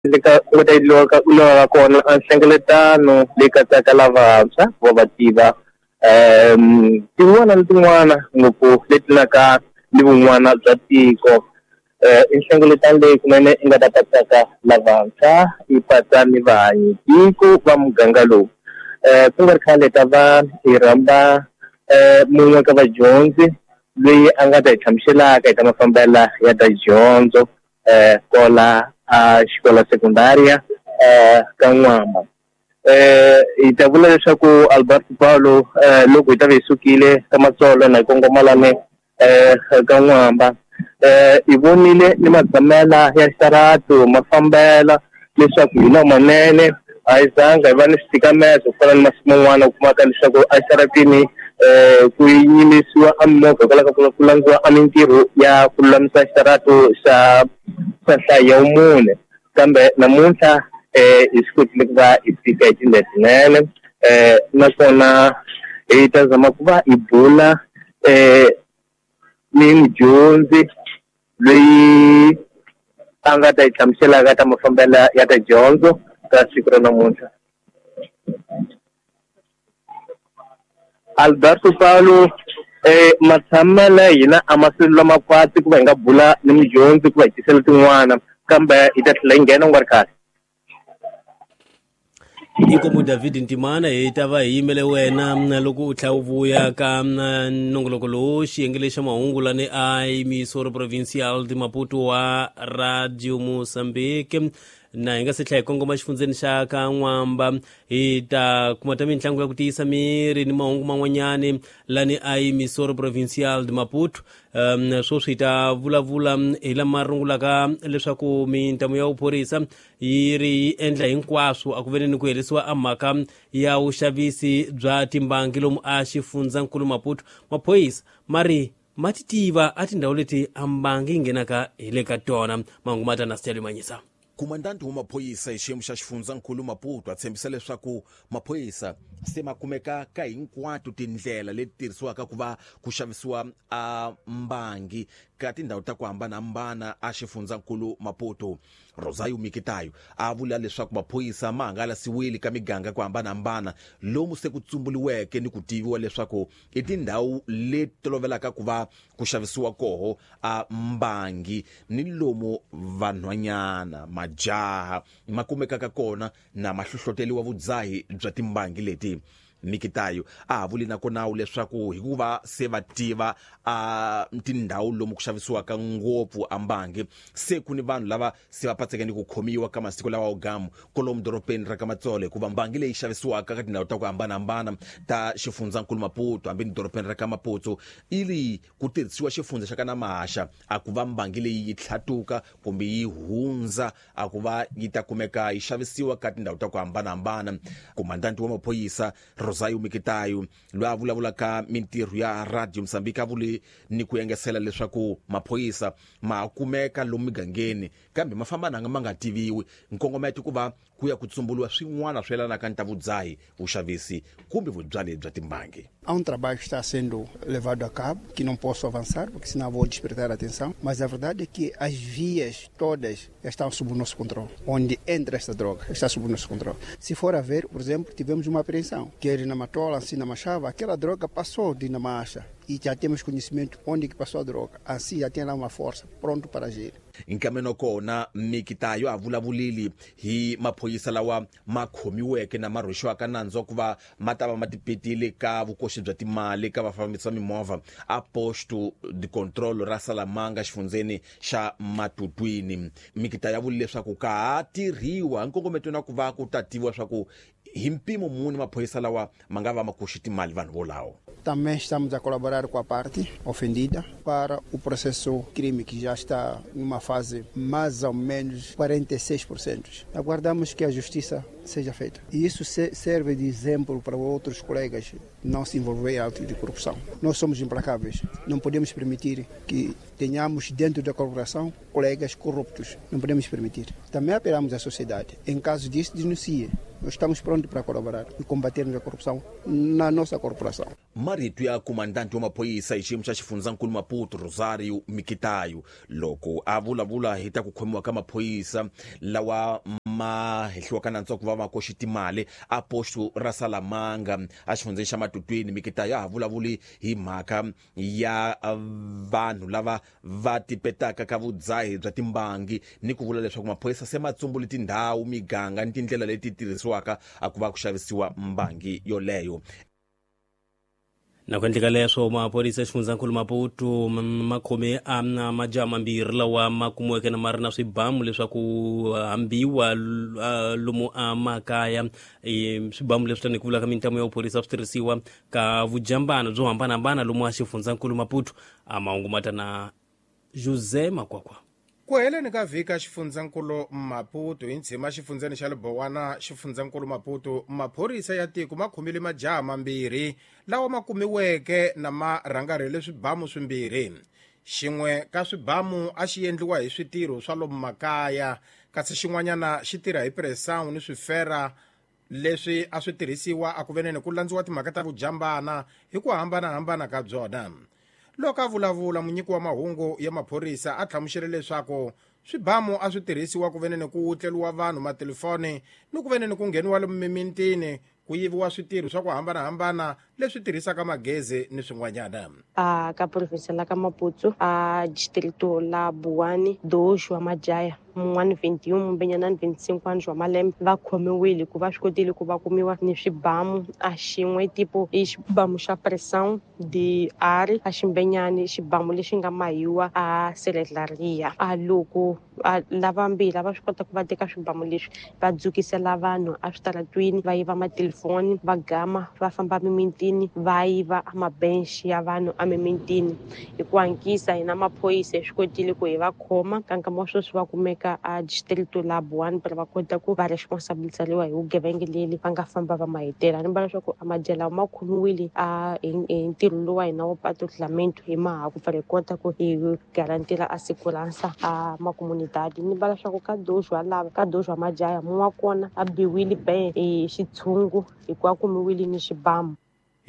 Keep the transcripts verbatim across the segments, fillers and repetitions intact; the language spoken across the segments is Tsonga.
Leka ku ta endliwa kona a nhlengeletano leyi katsaka lavantshwa va va tiva um tin'wana na tin'wana ngopfu leti naka ni vun'wana bya tiko. um i nhlengeletano leyi kunene i nga ta katsaka lavantshwa yi patsa ni vahanyi tiko va muganga lowu. um ku nga ri khale ta va hi rhamba um mun'we ka vadyondzi loyi a nga ta hi hlamuselaka hi ta mafambela ya ta dyondzo um kola a xikola sekundaria eh ka N'wamba. Eh hi ta vula leswaku Alberto Paulo eh loko hi ta va hi sukile ka Matsolo na hi kongoma lani eh ka N'wamba eh hi vonile ni matshamela ya xitarato ma fambela leswaku hi lamanene a hi zanga hi va ni switikameto ku fana ni masiku man'wana u kumaka leswaku exitaratini eh ku yimisiwa a mimovha hikwalaho ka ku landziwa a mintirho ya ku lulamisa xitarato xa xa nhlayo ya mune, kambe namuntlha eh hi swi kotile ku va hi fika hi tindlela tinene eh naswona hi ta zama ku va hi bula eh ni mudyondzi loyi a nga ta hi hlamuselaka ta mafambelo ya ta dyondzo ka siku ra namuntlha. Alberto Paulo eh matshamelo ya hina a ma swi lama kwatsi ku va hi nga bula ni mudyondzi ku va hi tisela tin'wana, kambe hi ta tlhela hi nghena ku nga ri kahle. Inkomu David Ntimana, hi ta va hi yimele wena loko u tlhela u vuya ka nongoloko lowu xiyenge lexa mahungu lani a Emissora Provincial de Maputo wa Radio Mozambique. Na hi nga se tlhela hi kongoma xifundzeni xa ka N'wamba hi ta kuma ta mitlangu ya ku tiyisa miri ni mahungu man'wanyani lani a Emissora Provincial de Maputo. Um sweswi hi ta vulavula hi lama rungulaka leswaku mintamu ya vuphorisa yi ri yi endla hinkwaswo a ku veni ni ku herisiwa a mhaka ya vuxavisi bya timbangi lomu a xifundzankulu Maputo. Maphorisa ma ri ma ti tiva a tindhawu leti a mbangi yi nghenaka hi le ka tona. Mahungu ma ta na Steli Manyisa. Komandanti wa maphorisa hi xiyimo xa xifundzankulu Maputo a tshembisa leswaku maphorisa se ma kumeka ka hinkwato tindlela leti tirhisiwaka ku va ku xavisiwa a mbangi ka tindhawu ta ku hambanahambana a xifundzankulu Maputo. Rosario Mikitayo a vula leswaku maphorisa ma hangalasiwile ka miganga ku hambanahambana lomu se ku tsumbuliweke ni ku tiviwa leswaku i tindhawu leti tolovelaka ku va ku xavisiwa koho a mbangi ni lomu vanhwanyana majaha ma kumekaka kona na mahlohloteliwa vudzahi bya timbangi leti. Mikitayo a ha vuli nakona leswaku hikuva se va tiva a tindhawu lomu ku xavisiwaka ngopfu a mbangi se ku ni vanhu lava se va patseke ni ku khomiwa ka masiku lawa gamu kolomu doropeni ra ka Matsolo, hikuva mbangi leyi xavisiwaka ka tindhawu ta ku hambanahambana ta xifundzankulu Maputo hambi ni doropeni ra ka Maputo ili ku tirhisiwa xifundza xa ka Namahaxa a ku va mbangi leyi yi tlhatuka kumbe yi hundza a ku va yi ta kumeka yi xavisiwa ka tindhawu ta ku hambanahambana. Komandanti wa maphorisa Rosario Mikitayo loyi a vulavulaka mintirho ya Radio Mozambique a vule ni ku engesela leswaku maphorisa ma kumeka lomu migangeni kambe ma famba nanga ma nga tiviwi, nkongometo ku va ku ya ku tsumbuliwa swin'wana swi yelanaka ni ta vudzahi, vuxavisi kumbe vubyali bya timbangi. Há um trabalho que está sendo levado a cabo, que não posso avançar, porque senão vou despertar a atenção, mas a verdade é que as vias todas estão sob o nosso controle. Onde entra esta droga está sob o nosso controle. Se for a ver, por exemplo, tivemos uma apreensão, quer na Matola, assim na Machava, aquela droga passou de Namacha e já temos conhecimento onde que passou a droga. Assim já tem lá uma força pronto para agir. Nkameno kona Mikitayo a vulavulile hi maphorisa lawa ma khomiweke na ma rhwexiwaka nandzu ku va ma ta va ma tipetile ka vukoxi bya timali ka vafambisi va mimovha a posto de control ra Salamanga xifundzeni xa Matutwini. Mikitayo a vule leswaku ka ha tirhiwa nkongometo na ku va ku ta tiviwa swa ku hi mpimo muni maphorisa lawa ma nga va ma koxi timali vanhu volawo. Também estamos a colaborar com a parte ofendida para o processo crime que já está numa fase mais ou menos quarenta e seis por cento. Aguardamos que a justiça seja feita. E isso serve de exemplo para outros colegas não se envolver em atos de corrupção. Nós somos implacáveis. Não podemos permitir que tenhamos dentro da corporação colegas corruptos. Não podemos permitir. Também apelamos à sociedade. Em caso disso, denuncie. Nós estamos prontos para colaborar e combatermos a corrupção na nossa corporação. Marito ya komandanti wa maphorisa hi xiyimo xa xifundzankulu Maputo Rosario Mikitayo loko a vulavula hi ta ku khomiwa ka maphorisa lawa ma hehliwaka nandzu wa ku va ma koxi timali a posto ra Salamanga a xifundzeni xa Matutwini. Mikitayo a ha vulavuli hi mhaka ya vanhu lava va tipetaka ka vudzahi bya timbangi ni ku vula leswaku maphorisa se ma tsumbule tindhawu, miganga ni tindlela leti tirhisiwaka a ku va ku xavisiwa mbangi yoleyo. Na ku endleka leswo maphorisa xifundzankulu Maputo ma khome a majaha mambirhi lawa ma kumiweke na ma ri na swibamu leswaku hambiwa lomu a makaya. Swibamu leswi tanihi ku vula ka mintlamo ya vuphorisa swi tirhisiwa ka vujambana byo hambanahambana lomu a xifundzankulu Maputo. A mahungu ma ta na Jose Makwakwa. Ku heleni ka vhiki xifundzankulu Maputo hi ntshima xifundzeni xa Libowana xifundzankulu Maputo maphorisa ya tiko ma khomile majaha mambirhi lawa ma kumiweke na ma rhangarhele swibamu swimbirhi. Xin'we ka swibamu a xi endliwa hi switirho swa lomu makaya kasi xin'wanyana xi tirha hi pressão ni swifera leswi a swi tirhisiwa a ku veneni ku landziwa timhaka ta vujambana hi ku hambanahambana ka byona. Loko a vulavula munyiki wa mahungu ya maphorisa a hlamusele leswaku swibamu a swi tirhisiwa ku veneni ku wutleriwa vanhu matelefoni ni ku veneni ku ngheniwa lomu mimintini ku yiviwa switirho swa ku hambanahambana leswi tirhisaka magezi ni swin'wanyana. A ka province la ka Maputo a distrito la Buwani dois wa majaya mun'wana vinte e um mumbenyana vinte e cinco anos wa malembe va khomiwile ku va swi kotile ku va kumiwa ni swibamu a xin'we tipo i xibamu xa pressão de ar a ximbenyani xibamu lexi nga mahiwa a seledlaria. A loko a lavambirhi va swi kota ku va teka swibamu leswi va dzukisela vanhu a switaratwini va yiva matelefoni va gama va famba mimintini va yiva a mabench ya vanhu a mimintini. Hi ku hankisa hina maphorisa hi swi kotile ku hi va khoma ka nkama wa sweswi va kumeka a distrito la Buwani para va kota ku va responsabilizariwa hi vugevenga leli va nga famba va mahetela. Ni vona leswaku a majela ma khomiwile a hi ntirho lowu wa hina wa patrulhamento hi maha ku pfala hi kota ku hi garantira a segurança a makomunidade. Ni vona leswaku ka dois wa lava ka dois wa majaha mun'we wa kona a biwile be hi xitshungu hikuva kumiwile ni xibamu.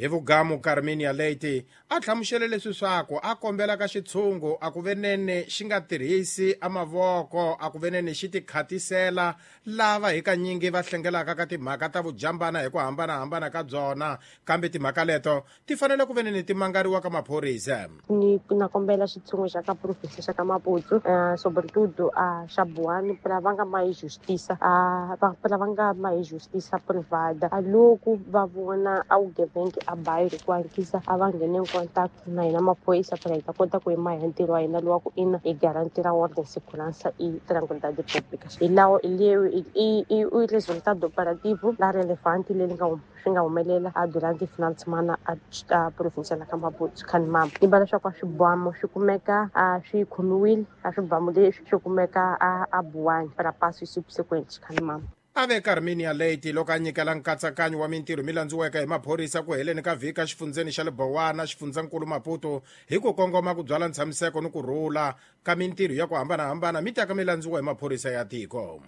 Hi vugamu Carminia Leite a hlamusele leswi swaku a kombela ka xitshungu a ku venene xi nga tirhisi a mavoko a ku venene xi tikhatisela lava hi kanyingi va hlengelaka ka timhaka ta vujambana hi ku hambanahambana ka byona kambe timhaka leto ti fanele ku venene ti mangariwa ka maphorisa. Ni na kombela xitshungu xa ka province xa ka Maputo uh, sobretudo a xa Buwani para va nga mahi justiça a para va nga mahi justiça privada a loko va vona a vugevenga a bairro ku hankisa a va nghene in contact na hina maphorisa para hi ta kota ku yima hi ntirho wa hina lowa ku ina hi garantira ordem segurança e tranquilidade pública. Hi lawo i i resultado operativo la relevante leri nga swi nga humelela a durante final de semana a a província la ka Maputo Khanimama. Ni vona leswaku a swibamu swi kumeka a swi khomiwile a swibamu leswi swi kumeka a a Buwani para passo subsequente Khanimama. A ve Carminia Leite loko a nyikela nkatsakanyo wa mintirho mi landziweke hi maphorisa ku heleni ka vhiki exifundzeni xa Libowana xifundzankulu Maputo hi ku kongoma ku byala ntshamiseko ni ku rhula ka mintirho ya ku hambanahambana mi taka mi landziwa hi maphorisa ya tiko.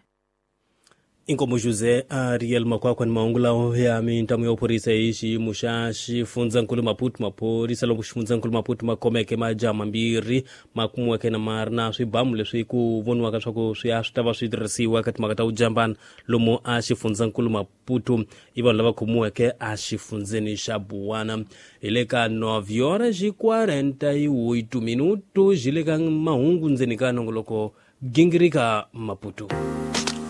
Inkomo Jose Ariel Makwakwa ni mahungu lawo ya mintlamo ya vuphorisa hi xiyimo xa xifundzankulu Maputo. Maphorisa loko xifundzankulu Maputo ma khomeke majaha mambirhi ma kumiweke na ma ri na swibamu leswi ku voniwaka swa ku swi ya swi ta va swi tirhisiwa ka timhaka ta vujambana lomu a xifundzankulu Maputo. I vanhu lava khomiweke a xifundzeni xa Buwana. Hi le ka nove horas e quarenta e oito minutos hi le ka mahungu ndzeni ka nongoloko gingirika Maputo.